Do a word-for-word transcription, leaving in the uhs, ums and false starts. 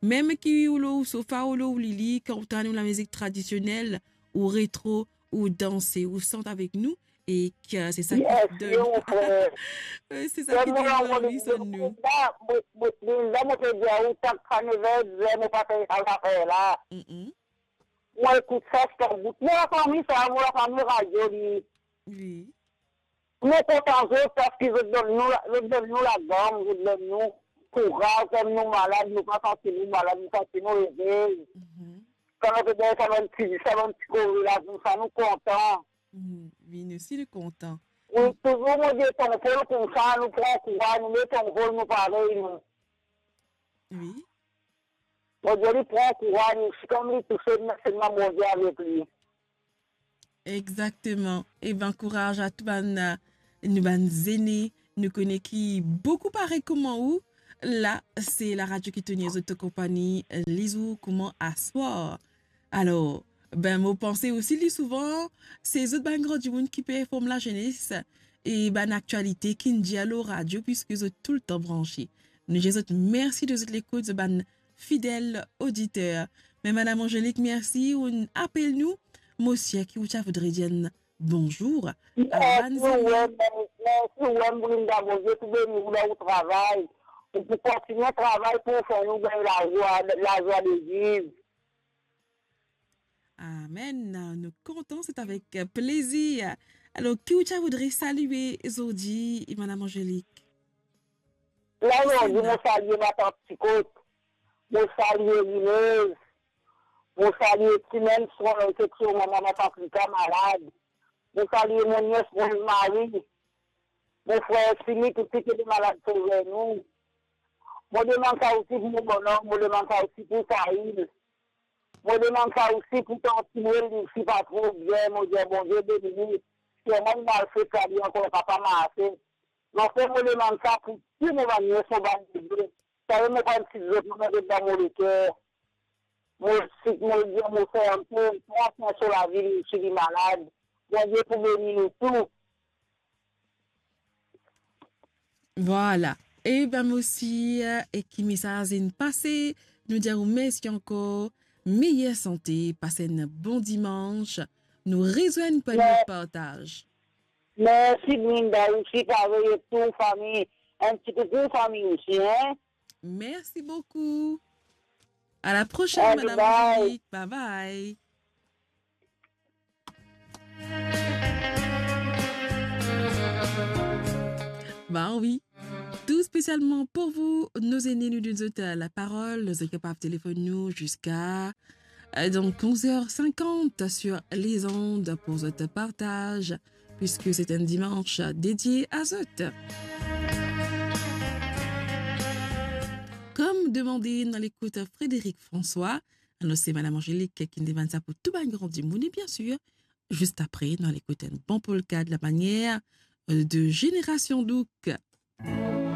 Mem ki ou lor ou sofa, ou lor ou lili, kan ou tann ou lamizik tradisionel, ou retro, ou danse, ou sant avek nou, e ki, euh, se sa ki... Yes, donn, yo, mon frer. Euh, se sa ki donn lanvi, sonn nou. La, mo, mo, la, mo pe dir ou, sak sa nev er, mo pa fer sa zafer la. Mm-mm. Mo ekout sa, sa bout. Mo lafami sa, mo lafami radio li. Wi. Nou kontan zot, paski zot donn nou la, zot donn nou lagam, zot donn nou kouraz, kan nou malad, nou pa santi nou malad, nou santi nou ere. Mhm. Kan nou pe gagn sa bann ti, sa bann ti kore la, nou, sa nou kontan. Mhm. Wi, nou osi nou kontan. Wi, touzour mo dir tonton koumsa, nou pran kouraz, nou met tonton, nou parey, nou. Wi. Bondie li pran kouraz, nou, si kan li touse, nou met selman Bondie avek li. Exakteman. Eba, kouraz a tou bann, euh, nou bann zene, nou kone ki boukou parey kouma ou. La, se laradio ki tenir zot an konpagni, euh, lizour kouma aswar. Alor, ben, mo panse osi li souvan, se zot bann gran dimoun ki pe inform lazenes e bann aktialite ki'nn dir lor radio, piski zot toultan branse. Nou dir zot mersi de zot lekout, zot bann fidel oditer. Me Madam Angelique, mersi, ou'nn apel nou. Mo sir ki ou ti a voudre dir enn bonzour a bann zene. Mersi, wi, mersi, wi, Brinda, Bondie pou beni ou dan ou travay. Ou pou kontigne travay pou fer nou gagn lazwa, lazwa de viv. Amen. Nou kontan, se avek plezir. Alor, ki ou ti a voudre salie zordi, Madam Angelique? La, zordi, mo salie matant Tikot. Mo salie Linez. Mo salie Timen, son infeksion, mama, mama Paprika malad. Mo salie mo nies Rose Marie. Mo frer Simi, tou ki ete malad, sove nou. Mo demann sa osi pou mo bonom, mo demann sa osi pou Saïl. Mo demann sa osi pou tanti Noel, li osi pa tro bien, mo dir Bondie beni li. Sirman li malfet, sa li ankor pa, pa marse. Anfin, mo demann sa pou tou mo bann nies, mo bann neve. Sa yo mo pa ti zot, mo met dan mo leker. Mo si, mo dir mo fer enn pe, pran swin so lavi, li osi li malad. Bondie pou beni nou tou. Vwala. Eba, mo sir, e ki mesaz inn pase, nou dir ou mersi ankor, meyer sante, pas enn bon dimans. Nou rezwenn pou enn lot partaz. Mersi, Brinda, osi parey, e tou fami, enn ti koukou fami osi, hein? Mersi boukou. À la prochaine, Madame Angélique. Bye bye. Ba wi. Tou spesialman pou vou, nou zene, nou donn zot, euh, laparol, zot kapav telefonn nou ziska, euh, donk, onz er sinkant sur les ondes pou zot partaz, puiske se enn dimans dedie a zot. Kom demande, nou al ekout Frédéric François, alor se Madame Angélique ki demann sa pou tou bann gran dimoun, e biensir, zis apre, nou al ekout enn bon polka de la manière, euh, de Génération Douk.